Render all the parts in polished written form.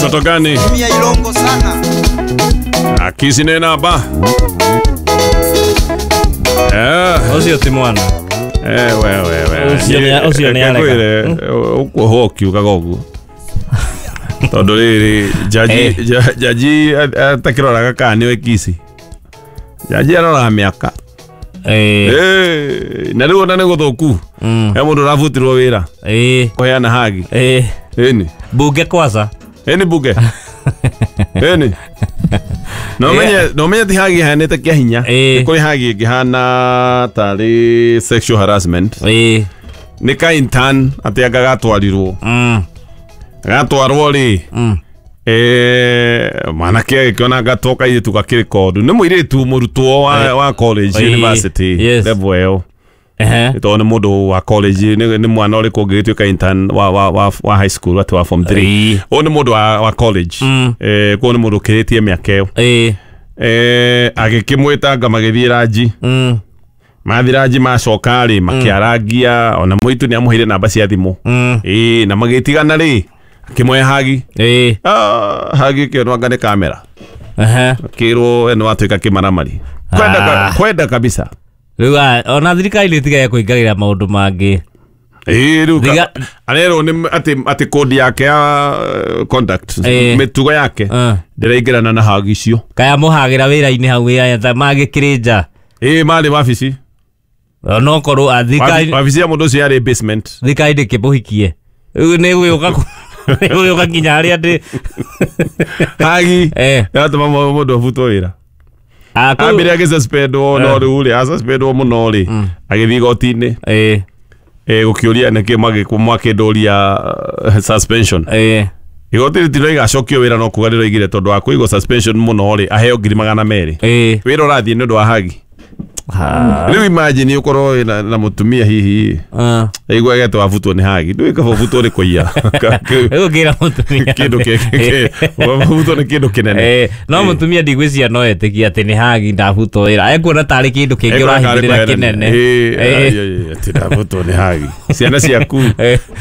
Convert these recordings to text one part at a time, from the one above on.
Mtoto gani? Mia Ilongo sana. Akisi nena ba. Ũcio ti mwana. Wewe. Ũcio nĩ areka. Ũkuohwo ũkiugaga ũguo. Tondũ rĩrĩ jaji atakĩroraga kana nĩwe Kisi. Jaji aroraga mĩaka. Na rĩu ona nĩ gũthũku. He mũndũ ũrabutirwo wĩra. Kũheana hagi. Ĩni. Bunge kwanza. Ĩni bunge. Ĩni. No menye ti hagi ihanĩte kĩa hinya. Nĩ kũrĩ hagi ĩngĩhana tarĩ sexual harassment. Nĩ ka intern atĩ anga gatwarirwo. Gatwarwo rĩ. Mwanake agĩkĩona gatwo kairĩtu gakĩrĩ kondu. Nĩ mũirĩtu mũrutwo wa college university level ĩyo. Tondũ nĩ mũndũ wa college nĩ mwana ũrĩkũ ũngĩgĩtuĩka intern wa high school atĩ wa form 3. Ũyũ nĩ mũndũ wa college. Koguo nĩ mũndũ ũkĩrĩtie mĩaka ĩyo. Agĩkĩmwĩtanga magĩthiĩ ranji. Mathiĩ ranji macoka rĩ makĩarangia ona mũitu nĩ amũheire namba cia thimũ. Na magĩtigana rĩ akĩmũhe hagi. Hagi ĩkĩonwo anga nĩ kamera. Akĩrwo we nĩ watuĩka kĩmaramari. Kwenda kabisa. Rĩu ona thirikari nĩ ĩtigaga kũingagĩra maũndũ mangĩ. Rĩu arerwo nĩ atĩ kodi yake ya conduct mĩtugo yake ndĩraingĩrana na hagi icio. Kaya mũhagĩra wĩra-inĩ hau wĩra magĩkĩrĩ nja. Marĩ wabici. No korwo thirikari wabici ya mũndũ ũcio yarĩ basement. Thirikari ndĩkĩmũhikie. Rĩu nĩ gũgĩũka nginya harĩa ndĩ hagi yatũma mũndũ abutwo wĩra. Ambire agĩsuspendwo no rĩu rĩ asuspendwo mũno rĩ agĩthiĩ igoti-inĩ. Gũkĩũria nĩkĩ mwakĩndũria suspension. Igoti rĩtirauga acokio wĩra no kuga rĩroigire tondũ wa kũigwo suspension mũno rĩ aheo 200,000. Wĩra ũrathiĩ nĩ ũndũ wa hagi. Rĩu imagine ũkorwo na mũtumia hihi aigua agetwo abutwo nĩ hagi. Ndũĩ kaba ũbutwo nĩ kũiya. Rĩu ngĩra mũtumia kĩndũ ũbutwo nĩ kĩndũ kĩnene. No mũtumia ndigwĩciria no etĩkie atĩ nĩ hagi ndabutwo wĩra. Ekuona tarĩ kĩndũ kĩngĩ ũrahithĩrĩra kĩnene. Atĩ ndabutwo nĩ hagi. Ciana ciaku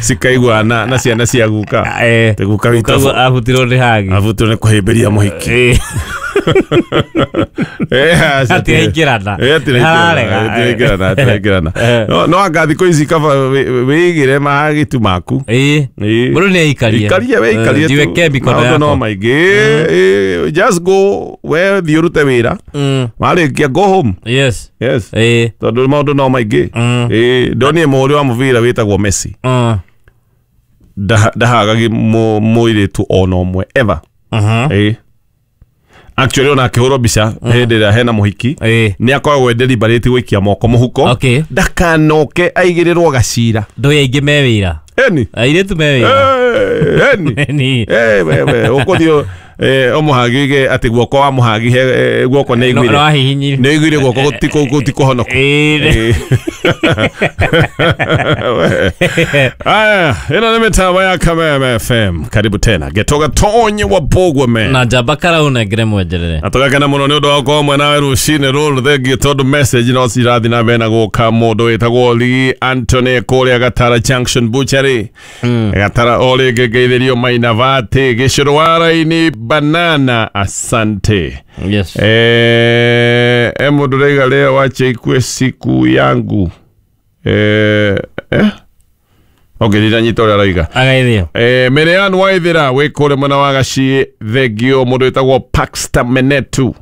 cikaigua na ciana cia guka. Atĩ guka witũ abutirwo nĩ hagi. Abutirwo nĩ kũhĩmbĩria mũhiki. Atiraingĩrana. Atiraingĩrana. No anga thikũ ici kaba wĩigĩre mahagi tu maku. Mũndũ nĩ aikarie. Ikarie we ikarie tu. Jiweke mikono Maũndũ no yako. maingĩ. Just go we thiĩ ũrute wĩra. Warĩkia go home. Yes. Yes. Tondũ maũndũ no maingĩ. Ndonire mũhũri wa mũbira wĩtagwo Messi. Ndahagagi mũirĩtu ona ũmwe ever. Actually ona akĩhũrwo mbica hĩndĩ ĩrĩa hena mũhiki nĩ akoragwo deliberate gũikia moko mũhuko ndakanoke aigĩrĩrwo gacira. Ndũĩ aingĩ me wĩra. Eni. Airĩtu me wĩra. Eni. Wewe ũkũthiĩ ũmũhagige atĩ guoko wa mũhagi guoko nĩ aiguire. No ahihinyire. Nĩ aiguire guoko gũtikũhonoka. Aya, ĩno nĩ mĩtambo ya Kameme FM. Karibu tena. Getoga Tonye wa Bogwe man. Na njamba Karau nengere mwenjerere. Na tũgakena mũno nĩ ũndũ wa gũkorwo mwena we rũcinĩ rũrũ thengiũ tondũ message no cirathiĩ na mbere na gũka mũndũ wĩtagwo Lee Anthony kũrĩa Gatara Junction Butchery. Gatara o rĩngĩ ngeithĩrio Mainavati gĩcũrũ wa raini banana asante. Yes. Mũndũ raiga leo wache ikue siku yangu. Okay, ndinanyita ũrĩa arauga. Agaithio. Mirian Waithira wĩ kũrĩa mwena wa Gaciĩ thengio mũndũ wĩtagwo Paxter Menetu.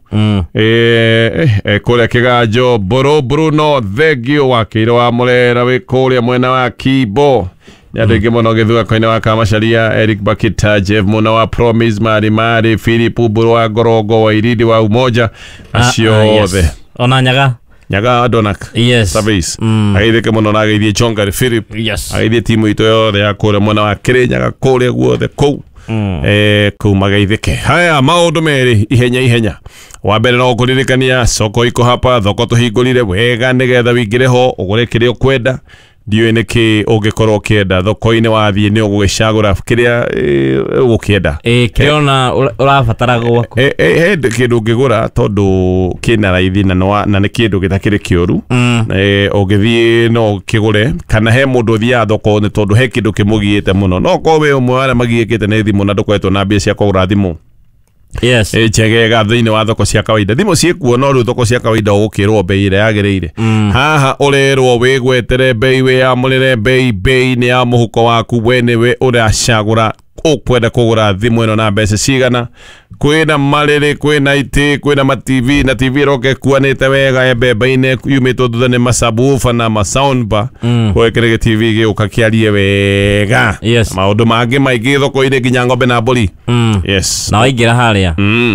Kũrĩa Kĩganjo Mbũrũ Bruno thengio wakĩire wa Mũrera wĩ kũrĩa mwena wa Kibo. Nĩ andũ aingĩ mũno gĩthurako-inĩ wa Kamacharia Eric Bakita Jeff Muna wa Promise Mari Mari Philip Mbũrũ wa Ngorongo wa Irindi wa Umoja acio othe. Ona Nyaga. Nyaga Adonak. Yes. Service. Ageithĩke mũno na ageithie Chongari Philip. Yes. Ageithie timu itũ yothe ya kũrĩa mwena wa Kĩrĩnyaga kũrĩa guothe kũu. Kũu mageithĩke. Haya maũndũ merĩ ihenya ihenya. Wa mbere no kũririkania soko iko hapa thoko tũhingũrire wega nĩgetha wĩingĩre ho ũgũre kĩrĩa ũkwenda. Ndiũĩ nĩkĩ ũngĩkorwo ũkĩenda thoko-inĩ wathiĩ nĩ ũgũgĩcagũra kĩrĩa ũgũkĩenda. Kĩrĩa ona ũrabatara gwaku. He kĩndũ ũngĩgũra tondũ kĩna raithi na nĩ kĩndũ gĩtakĩrĩ kĩũru. Ũngĩthiĩ no ũkĩgũre kana he mũndũ ũthiaga thoko nĩ tondũ he kĩndũ kĩmũgiĩte mũno. No korwo wĩ ũmwe wa arĩa magiĩkĩte nĩ thimũ na ndũkoretwo na mbia cia kũgũra thimũ. Yes. Njegega thĩinĩ wa thoko cia kawaida. Thimũ ciĩkuo no rĩu thoko cia kawaida ũgũkĩrwo bei ĩrĩa yagĩrĩire. Haha ũrerwo wĩgwetere bei, wĩyamũrĩre bei, bei nĩ ya mũhuko waku, we nĩwe ũracagũra ũkwenda kũgũra thimũ ĩno na mbeca cigana. Kwĩna marĩrĩ, kwĩna itĩ, kwĩna ma TV, na TV ĩroka ĩkuanĩte wega mbembe-inĩ yumĩtwo thutha nĩ masabufa na masoundbar. Gwekĩre TV gĩũka kĩarie wega. Yes. Maũndũ mangĩ maingĩ thoko-inĩ nginya ng'ombe na mbũri. Yes. Na waingĩra harĩa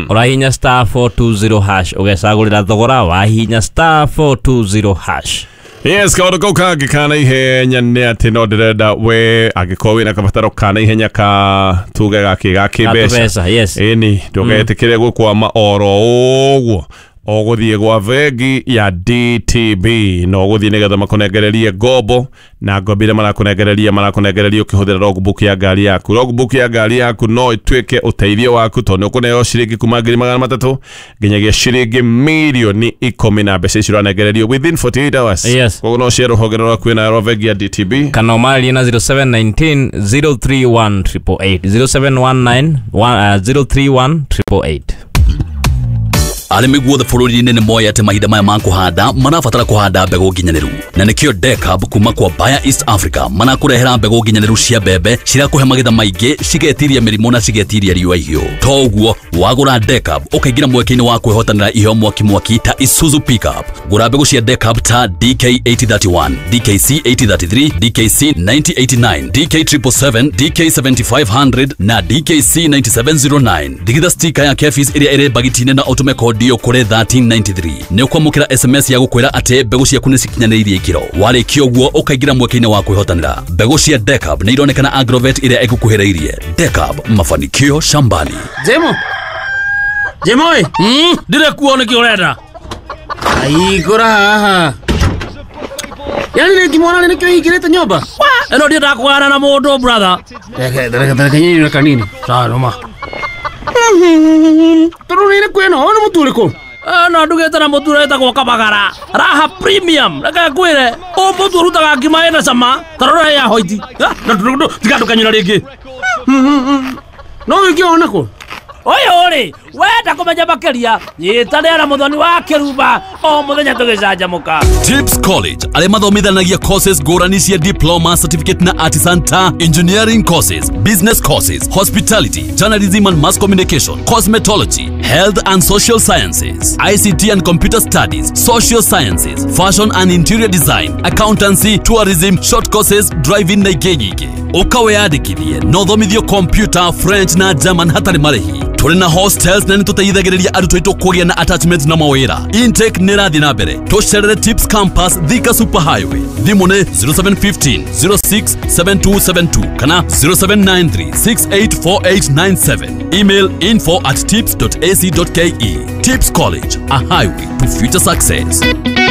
ũrahihinya star 420 hash ũgecagũrĩra thogora, wahihinya star 420 hash. Yes, kaũndũ kau kangĩ ka naihenya nĩ atĩ no ndĩrenda we angĩkorwo wĩna kabataro ka naihenya ka tuge gakĩ ga kĩmbeca. Yes. Ĩni ndũgetĩkĩre gũkwama oro ũguo. Ũgũthiĩ gwa bengi ya DTB na ũgũthiĩ nĩgetha makũnengererie ngombo, na ngombo iria marakũnengereria ũkĩhũthĩra logbook ya ngari yaku. Logbook ya ngari yaku no ĩtuĩke ũteithio waku tondũ nĩ ũkũneo ciringi kuma 300,000 nginyagia ciringi 10,000,000 na mbeca icio ũranengererio within 48 hours. Yes. Koguo no ũcere rũhonge rwaku na rwa bengi ya DTB kana ũmarĩrie na 0719 031 888 0719 031 888. Arĩmi guothe bũrũri-inĩ nĩ moĩ atĩ mahinda maya ma kũhanda marabatara kũhanda mbegũ nginyanĩru, na nĩkĩo Decab kuma kwa Bayer East Africa marakũrehera mbegũ nginyanĩru cia mbembe cirakũhe magetha maingĩ, cigetiria mĩrimũ na cigetiria riũa ihiũ. To ũguo, wagũra Decab ũkaingĩra mweke-inĩ wa kwĩhotanĩra iheo mwaki mwaki ta Isuzu pickup. Gũra mbegũ cia Decab ta DK 8031, DKC 8033, DKC 9089, DK 777, DK 7500 na DKC 9709. Digitha stika ya Kefis ĩrĩa ĩrĩ bagiti-inĩ na ũtũme kodi kũrĩ 1393. Nĩ ũkwamũkĩra SMS ya gũkwĩra atĩ mbegũ ciaku nĩ cikinyanĩirie ikĩro. Warĩkia ũguo ũkaingĩra mweke-inĩ wa kwĩhotanĩra. Mbegũ cia Decab nĩ ironekana Agrovet ĩrĩa ĩgũkuhĩrĩirie. Decab, mafanikio shambani. Jemo. Jemo ĩ. Ndire kuo nĩkĩ ũrenda? Aigũra haha. Yaani nĩ ngimwona nĩkĩo hingĩrĩte nyũmba? Ĩno ndiendaga kũgana na mũndũ brother. Reke nyinyi kanini. Sawa noma. Tondũ nĩ kwĩna ona mũtu ũrĩkũ? No ndugĩte na mũtu ũrĩa wĩtagwo Kabagara Raha Premium. Reke ngwĩre, ũyũ mũtu ũrutaga ngima ĩna cama ta rora ya hoiti. Tiga ndũkanyũra rĩngĩ. No wĩke ona kũ? Ũyũ rĩ, wenda kũmenya makĩria, nyitanĩra na Mũthoni wa Kĩrumba o mũthenya tũgĩcanjamũka. Tips College arĩa mathomithanagia courses ngũrani cia diploma, certificate na artisan ta engineering courses, business courses, hospitality, journalism and mass communication, cosmetology, health and social sciences, ICT and computer studies, social sciences, fashion and interior design, accountancy, tourism, short courses, driving na ingĩ nyingĩ. Ũka wĩyandĩkithie na ũthomithio computer, French na German hatarĩ marĩhi. Tũrĩ na hostels na nĩtũteithagĩrĩria arutwo aitũ kũgĩa na attachment na mawĩra. Intake nĩ ĩrathiĩ na mbere. Tũcerere Tips Campus, Thika Super Highway. Thimũ nĩ 0715 06 7272 kana 0793 684897. Email info@tips.ac.ke. Tips College, a highway to future success.